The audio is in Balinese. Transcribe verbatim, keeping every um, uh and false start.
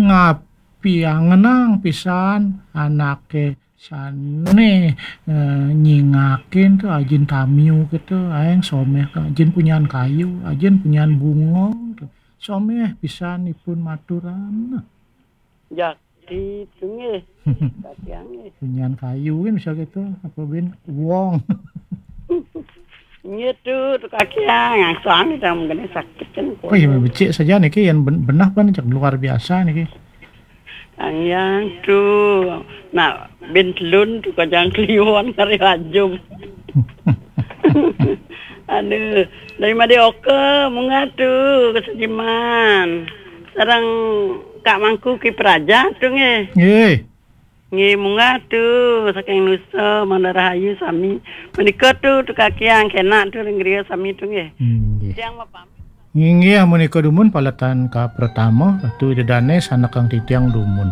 Ngapiang ngenang pisan anake sane eh, nyingakin tu ajin tamiu gitu, aeng someh ka ajin punyan kayu, ajin punyan bunga tu. Someh pisan ipun maturan. Jaki tu nggih. Katiang nggih. Punyan kayu kan bisa gitu, apa bin wong. Nggih tu, tu kaki ah, yang suami dah mungkin sakit kan. Oh iya, becik saja niki yang ben- benah pan cak luar biasa niki. Yang tu nak bin telun tu kajang kliwon kari rajum. Aduh, dari Madi Oka munggah tu ke Sediman. Sarang Kak Mangku ki peraja tu nggih. Nggih. Nggih, munggah tu saking Nusa Mandar Rahayu sami. Menika tu tu kakiang kenak tu ring griya sami tu nggih. Nggih. Tiang mapamit. Nggih, menika dumun paletan ka pertama, Ratu Ida Dane sanakang titiang dumun.